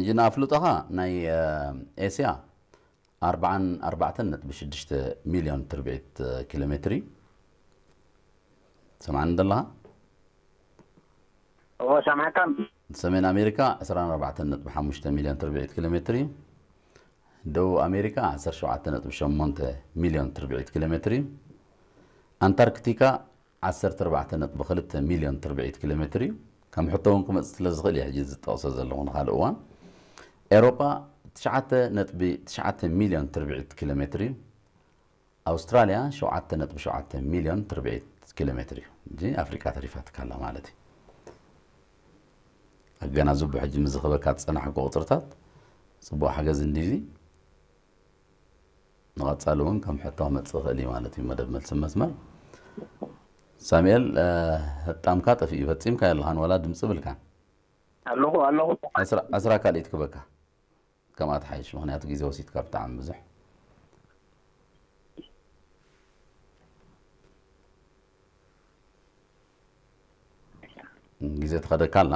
ይና ኣፍልጦኻ ናይ ኤስያ ኣርባዓን ኣርባዕተን ነጥቢ ሽዱሽተ ሚልዮን ትርብዒት ኪሎ ሜትር እዩ። ሰማዕኒ ደለኻ? እዎ ሰማዕካ። ሰሜን ኣሜሪካ ዕስራን ኣርባዕተን ነጥቢ ሓሙሽተ ሚልዮን ትርብዒት ኪሎ ሜትር እዩ። ደቡብ ኣሜሪካ ዓሰርተ ሸውዓተ ነጥቢ ሸሞንተ ሚልዮን ትርብዒት ኪሎ ሜትር እዩ። ኣንታርክቲካ ዓሰርተ ኣርባዕተ ነጥቢ ክልተ ሚልዮን ትርብዒት ኪሎ ሜትር እዩ። ከም ሕቶ እውን ክመፅእ ስለ ዝኽእል እየ ሕጂ ዝጠቕሶ ዘለኹ ንካልእ እዋን። ኤሮጳ ትሽዓተ ነጥቢ ትሽዓተ ሚልዮን ትርብዒት ኪሎ ሜትር እዩ። ኣውስትራልያ ሸውዓተ ነጥቢ ሸውዓተ ሚልዮን ትርብዒት ኪሎ ሜትር እዩ። እንጂ ኣፍሪቃ ተሪፋትካ ኣላ ማለት እዩ። ኣገናዝቡ ሕጂ ምዝኽበካ ዝፀናሕኩ ቁፅርታት ፅቡቅ ሓገዝ እንዲዚ። ንቐፃሊ እውን ከም ሕቶ ክመፅእ ይኽእል እዩ ማለት እዩ። መደብ መልሲ መስመር ሳሙኤል፣ ሕጣምካ ጠፊኡ ፈፂምካ የለኻን ዋላ ድምፂ ብልካን። ኣለኹ ኣለኹ። ዕስራ ካልኢት ክበካ ከምኣ ትሓይሽ፣ ምኽንያቱ ግዜ ወሲድካ ብጣዕሚ ብዙሕ ግዜ ትኸደካ ኣላ።